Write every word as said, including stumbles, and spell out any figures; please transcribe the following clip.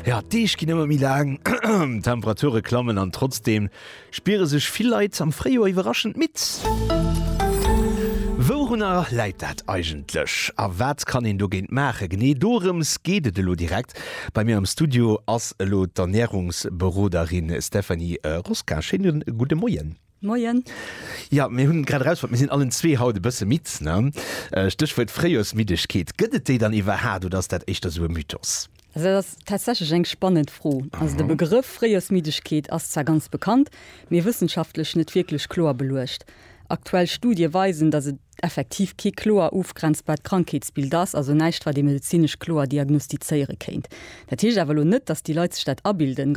Ja, d'Deeg ginn ëmmer méi laang, d'Temperature klammen an trotzdeem spiere sech vill Leit am Fréijoer iwwerraschend midd. Wourunner läit dat eigentlech a wat kann een dogéint maachen? Genee dorëms geet et elo direkt. Bei mir am Studio ass elo d'Ernärungsberoderin Stéphanie Rosca. Schéine gudde Moien. Moien. Ja, mir hunn grad erausfonnt, mir sinn allen zwee haut e bësse midd, ne? Stéchwuert Fréijoersmiddegkeet. Gëtt et déi dann iwwerhaat oder ass dat éischter sou e Mythos? Also dat ass tatsächlech eng spannend Fro. Also de Begrëff Fréijoersmiddegkeet ass zwar ganz bekannt, mee wëssenschaftlech net wierklech kloer beluecht. Aktuell Studie weisen, datt et effektiv kee kloer ofgrenzbart Krankheetsbild ass, also näischt wat ee medezinesch kloer diagnostizéiere kéint. Dat heescht awer elo net, datt déi Leit sech dat abilden.